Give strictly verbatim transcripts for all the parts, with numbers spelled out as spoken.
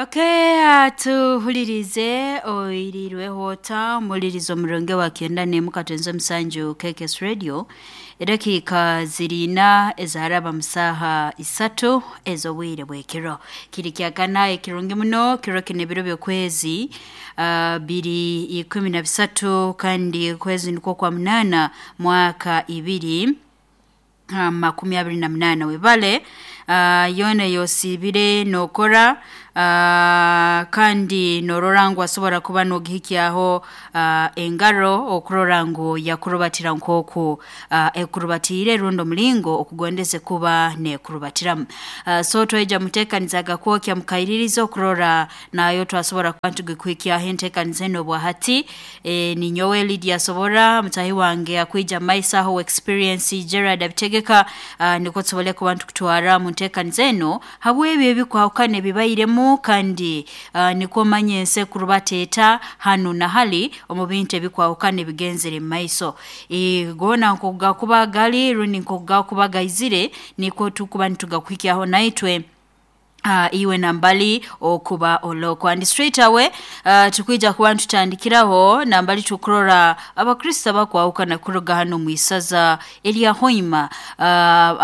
Okay, tuhulirize oirirweho ota omulirizo omurungi wa kyenda n'emu katonze omusanju K K S Radio. Edakiika ziriina ezaaraba mu saaha isatu ez'obwire bw'ekiro. Kiri kyakana ekirungi muno. Kiro kinu ebiro by'okwezi uh, biri ikumi na bisatu, kandi okwezi nikwo kwa munaana, mwaka ibiri uh, makumi abiri na munaana. Webale uh, yoona ey'osiibire nookora uh, kandi norora ngu asobora kuba nogihikyaho uh, engaro, okurora ngu yakurubatira nk'oku uh, ekurubatiire, rundi omulingo okugondeze kuba nekurubatiramu. uh, so twaija muteekaniza kwokya mukaiririza okurora nayo twasobora kuba ntugikuhikyaho enteekaniza enu obwahati. e, ninyowe Lydia Sobora, mutahi wange akwija maiso aho Experience Gerard abitegeka, uh, nikwo tusobole kuba ntukutwara mu nteekaniza eno habw'ebyo ebikwahukana ebibairemu, kandi uh, nikwo manye ensi ekurubateeta hanu na hali omu bintu ebikwahukana ebigenzere mu maiso. e, goona nkokugakuba gali rundi nkokugakuba gaizire, nikwo tukuba nitugakuhikyaho naitwe uh, iwe nambali okuba oloko. And straight away uh, tukwija kuba ntutandikiraho nambali tukurora Abakristo abakwahukana kuruga hano mwisaza erya Hoima, uh,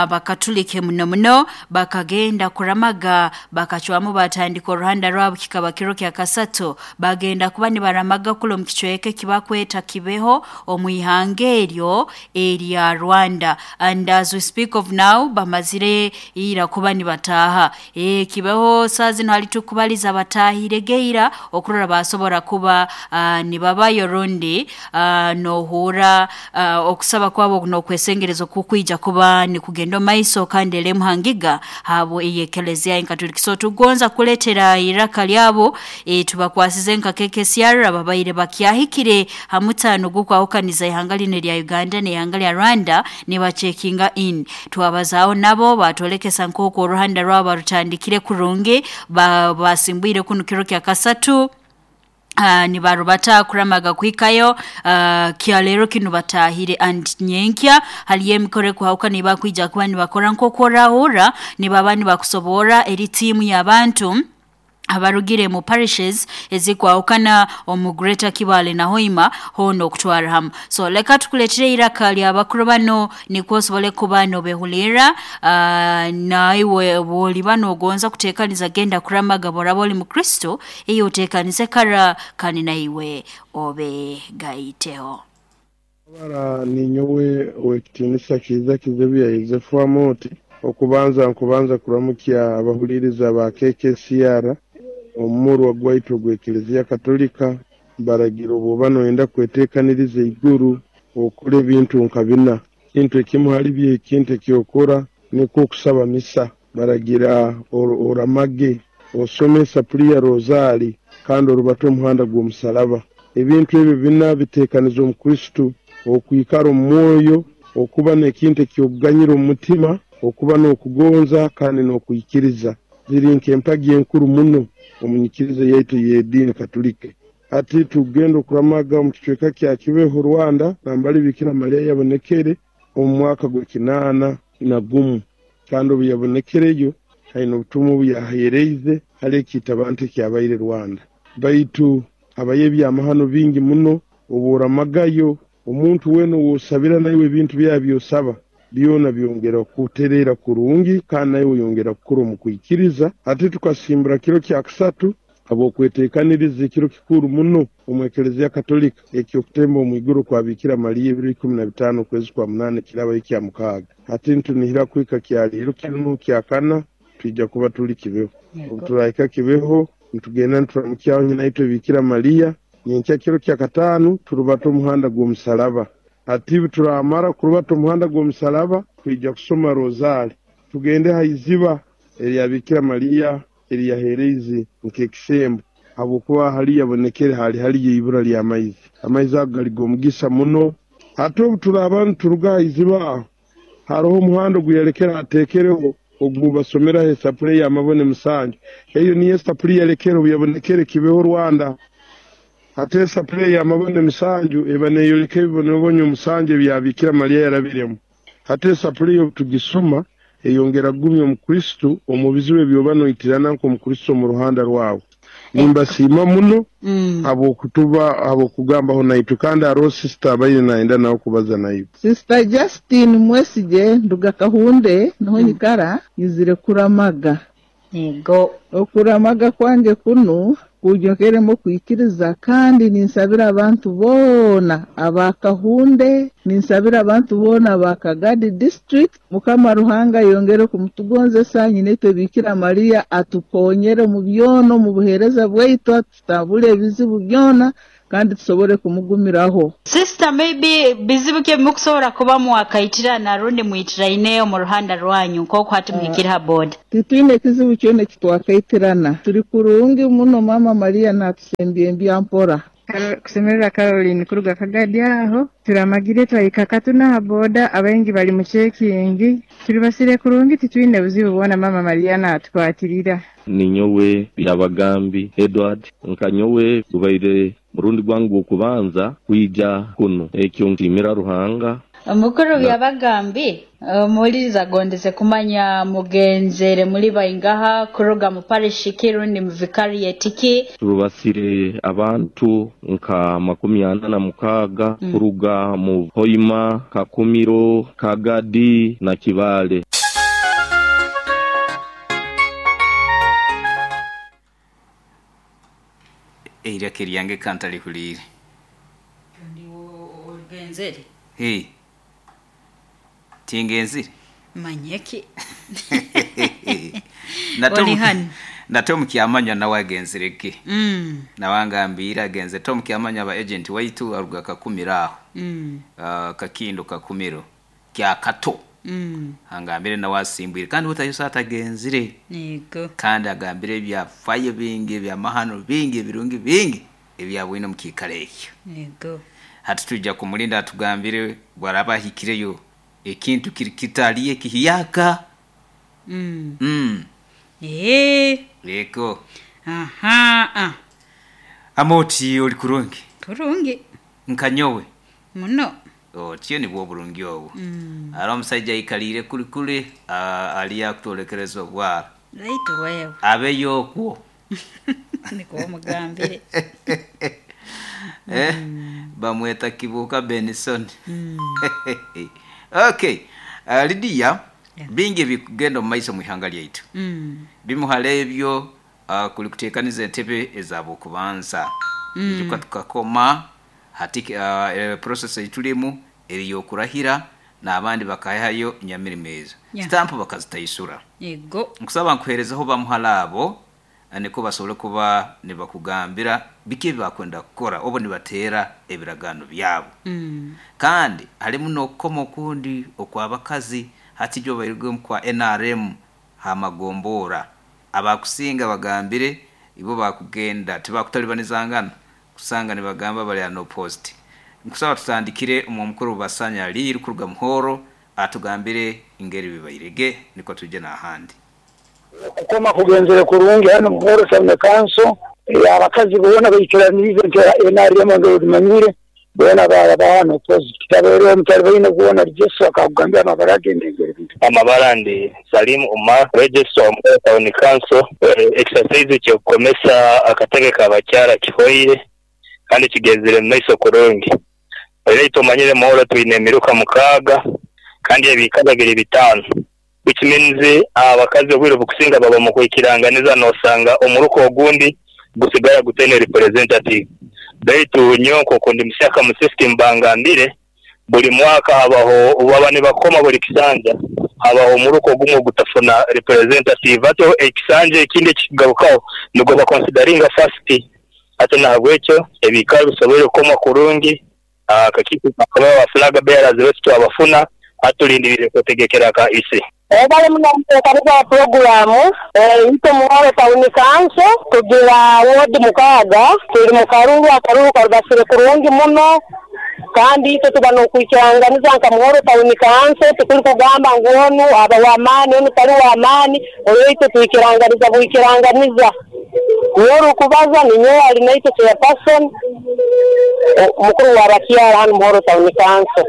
Abakatulike muno muno bakagenda kuramaga, bakacwamu batandika oruhanda rwabo. Kikaba kiro kya kasatu bagenda kuba nibaramaga kulo mu kicweka ekibakweta Kibeho omu ihanga eryo erya Rwanda. And as we speak of now, bamazire ira kuba nibataaha e, Kibeho. Saa zino hali tukubaliza batahire geira okurora basobora kuba uh, nibabayo, rundi uh, nohura uh, okusaba kwabo n'okwesengereza okukwija kuba nikugenda omaiso, kandi eremu hangiga habo eyekelezia enkatuliki. So tugonza kuletera iraka lyabo. e, tubakwasize nka K K C R ababaire bakyahikire ha mutano gukwahukaniza ihanga lino erya Uganda n'ihanga lya Rwanda, nibacheckinga in. Twabazaaho nabo, batolekesa nk'oku oruhanda rwabo barutandikire kurungi, basimbwire kunu kiro kya kasatu, Uh, nibarubata kuramaga kuhikayo uh, kyalero kinu batahire. And nyenkya haliyo emikoro ekuhauka nibakwija kuba nibakora nk'oku orahurra nibaba nibakusobora eri tiimu y'abantu abarugire mu parishes ezikwahukana omu Greater Kibale na Hoima hoona okutwara hamu. So leka tukuletere iraka lyabakuru bano, nikwo osobole kuba nobehulira. uh, naiwe bwoliba nogonza kutekaniza genda kuramaga, boraba oli mukristo, eyo otekanize kara kandi naiwe obe gaiteho. Bara ninyowe owekitiinisa Kiiza Kizebiya Yosefu Amoti. Okubanza nkubanza kuramukya abahuliriza ba K K C R. Omumurwa gwaitu ogw'Ekereziya Katolika baragira obwoba noyenda kweteekaniriza iguru, okora ebintu nka bina. Kintu ekimu hali byo, ekintu ekyokora nikwo okusaba misa. Baragira oramage, osome esapuri ya rozaali, kandi orubate omuhanda gw'omusalaba. Ebintu ebyo bina biteekaniza omukristu okwikara omu mwoyo, okuba n'ekintu ekyokuganyira omu mutima, okuba n'okugonza kandi n'okwikiriza. Ziri nk'empagi enkuru muno omu nyikiriza yaitu y'ediini Katolike. Hati tugenda okuramaga omu kicweka kya Kibeho, Rwanda, nambali Bikira Mariya yabonekere omu mwaka gw'ekinaana na gumu, kandi obu yabonekereyo haine obutumwa obu yaheereize hali ekiita abantu ekyabaire Rwanda. Baitu habayo ebyamahano bingi muno. Obu oramagayo, omuntu weena ow'osabira naiwe, ebintu byawe byosaba byona byongera kutereera kurungi, kandi naiwe oyongera kukura omu kwikiriza. Ate tukasimbura kiro kya kasatu habw'okweteekaniriza ekiro kikuru muno omu Ekereziya Katolika ekyokutemba omu iguru kwa Bikira Mariya, ebiro ikumi na bitaano okwezi kwa munaana, ekirabayo ekya mukaaga. Hati ntunihira kuhika kyaliiro kinu kyakana twija kuba tuli Kibeho. Obu turahika Kibeho, nitugenda nituramukyaho nyina itwe Bikira Mariya. Nyenkya kiro kya kataano turubata omuhanda gw'omusalaba. Hati turamara kurubata omuhanda gw'omusalaba, twija kusoma rozaali, tugende ha iziba erya Bikira Mariya eriyaheereize nk'ekisembo, habwokuba hali yabonekere hali haliyo ibura ly'amaizi. Amaizi ago gali g'omugisa muno. Hati obu turaaba nituruga ha iziba aho, haroho omuhanda oguyalekere ateekereho ogu basomeraho esapuri ey'amabone musanju. Eyo niyo esapuri yalekere obu yabonekere Kibeho, Rwanda. Hati esapuri ey'amabone musanju eba neeyoleka ebibonebonyo musanju ebya Bikira Mariya yarabiremu. Hati esapuri eyo obu tugisoma Eyongera kugumya omukristo omu bizibu ebyoba noitirana nk'omukristo mu ruhanda rwawe. Nimbasiima muno Mm. habwokutuba habwokugambaho naitwe, kandi hariho sister abaire nayenda nawe kubaza naiwe. Sister Justine Mwesige, nduga Kahunde, niho nyikara, nyizire kuramaga. Yego. Okuramaga kwange kuno kunyokeremu okwikiriza, kandi ninsabira abantu boona aba Kahunde, ninsabira abantu boona aba Kagadi district. Mukama Ruhanga yongere kumutugonzesa, nyinetwe Bikira Maria atukonyere mu byona omu buheereza bwaitu, atutabule ebizibu byona kandi tusobole kumugumiraho. Sister, maybe bizibu ki mukusobola kuba mwakaitirana rundi mwitiraine omu ruhanda rwanyu nk'oku hati muhikire ha board? Titwine ekizibu kyona ekitwakaitirana, turi kurungi muno. Mama Maria natusembya embya mpora. Karo- kusemerera Caroline kuruga Kagadi aho turamagire twahika Katuna ha boda, abaingi bali mu checking, turibasire kurungi, titwine buzibu bwona. Mama Maria natukwatirira. Ninyowe Byabagambi Edward, nkanyowe gubaire murundi gwangu okubanza kwija kuno, ekyo ntimira Ruhanga. Omukuru Na- Byabagambi, omuwuliriza agondeze kumanya mugenzere muri baingaha kuruga mu parish ki rundi mu vicariate ki? Turubasire abantu nka makumi ana na mukaaga Mm. kuruga mu Hoima, Kakumiro, Kagadi na Kibale. Eiraka eryange kantalihuriire. Ogenzere. Hey, tingenzire. Manyeki. Nate Oli omu- hano. Nate omukyamanywa nawe agenzire ki? Mm. Nawe angambire agenze. Tom Kyamanywa aba agent waitu aruga Kakumiro aho. Mm. uh, kakindo Kakumiro kya Kato. Mm. Angambire nawe asimbwire kandi butayosa atagenzire. Yego. Kandi agambire ebyafayo bingi, ebyamahano bingi, ebirungi bingi ebyabwine omu kiikaro ekyo. Yego. Hati tujja kumulinda atugambire bwaraba ahikireyo ekintu kiri kitaliyo ekihiyaka. Mm. mm. Eh. Eko. Aha. Ah. Amoti oli kurungi? Kurungi. Nkanyowe. Muno. Otyo nibwo oburungi obwo. Mm. Ari omusajja aikalire kuli kuli ali akutolekereza obwara. Right wewe. Abeyo okwo. Niko omugambire. Eh, bamweta Kibuuka Benson. Mm. Okay. Uh, Lydia, Yeah. bingi ebikugenda omu maiso mu ihanga lyaitu. Mm. Bimuhara ebyo uh, kuli kuteekaniza entebe ez'abokubanza. Mm. Ijuka tukakoma hati uh, eh, process eitulimu eriyokurahira n'abandi bakahayo nyamirimo ezo. Yeah. Stamp bakazitaisura. Yego. Nkusaba nkuherezaho bamuhala abo niko basobole kuba nibakugambira biki ebibakwenda kukora obo nibateera ebiragaano byabo. Mm. Kandi harimu n'okukoma okundi okw'abakazi hati ibyo bairwemu kwa N R M hamagombora abakusinga bagambire ibo bakugenda tibakutalibanizangana kusanga nibagamba bali ano post. Nkusaba tutandikire omwo mukuru Basanya Liri kuruga Muhoro atugambire ingeri bibairege niko tuje n'ahandi. Kukoma kugenzere kurungi hano Muhoro Town Council, abakazi boona baikiranirize nti N R M ngo bimanyire boona barabahano post kitabere omutali baine kuona Jesu akakugambia amabara ge n'engeri bintu. Amabara ndi Salim Umar, register wa Muhoro Town Council. Exercise kyokukomesa akatebe k'abakyara kihoire kandi kigenzere mu maiso kurungi. Era tumanyire Muhoro twine emiruka mukaaga kandi ebikaba biri bitaano, which means abakazi obwire bukusinga baba mu kwikiranganiza nosanga omuruka ogundi gusigara gutene representative. Baitu nyonko kundi msyaka mu system bangambire buli mwaka habaho baba nibakoma buli kisanja habaho omuruko gumwe gutafuna representative, ato ekisanja ekindi ekigarukaho nigwo baconsideringa first. Ate nahabwekyo ebikaba bisobole kukoma kurungi. Akakiiko kakaba ba flag bearers betu twabafuna atulindirire kutegekera ka isi. Bali muno muteekaniza puroguramu ito Muhoro Town Council tugira wodi mukaaga tuli mu karuru, akaruru karubasire kurungi muno kandi itwe tuba n'okwikiranganiza nka Muhoro Town Council tukuli kugamba ngu onu aba w'amaani onu tali w'amaani, oyo itwe twikiranganiza bwikiranganiza. Nyowe orikubaza ninyowe ali naitwe chairperson mukuru wa bakyara hanu Muhoro Town Council.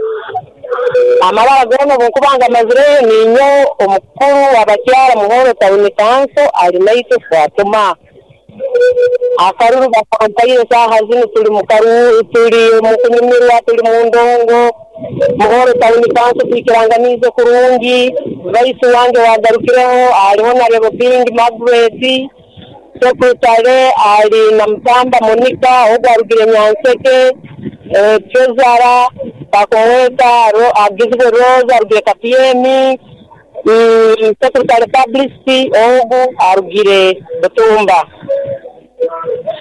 Amabara goona obunkuba ngamazireyo, ninyo omukuru w'abakyara Muhoro Town Council Alinaitwe Fatuma. Akaruru bakampaire, saaha zinu tuli mu karuru, tuli mu kunyumirwa, tuli mu ndongo. Muhoro Town Council twikiranganiize kurungi. Vice wange wagarukireho aliho na Rebobing Margaret, secretary ali na Mutamba Monica ogu arugire Nyanseke, eh, treasurer bakumweta Ro- agizwe Rose arugire Kapyemi, mm, secretary publicity ogu arugire Butumba.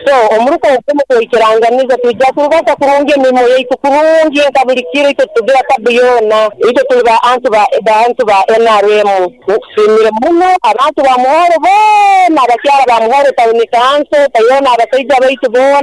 So omuruko ogumu kwikiranganiza, twijja kurubata kurungi emirimu yaitu kurungi nka buli kiro. Itwe tugira tabu yoona, itwe tuli bantu ba bantu ba N R M. Tusiimire muno abantu ba Muhoro boona, abakyara ba Muhoro Town Council tayona, abasaija baitu boona.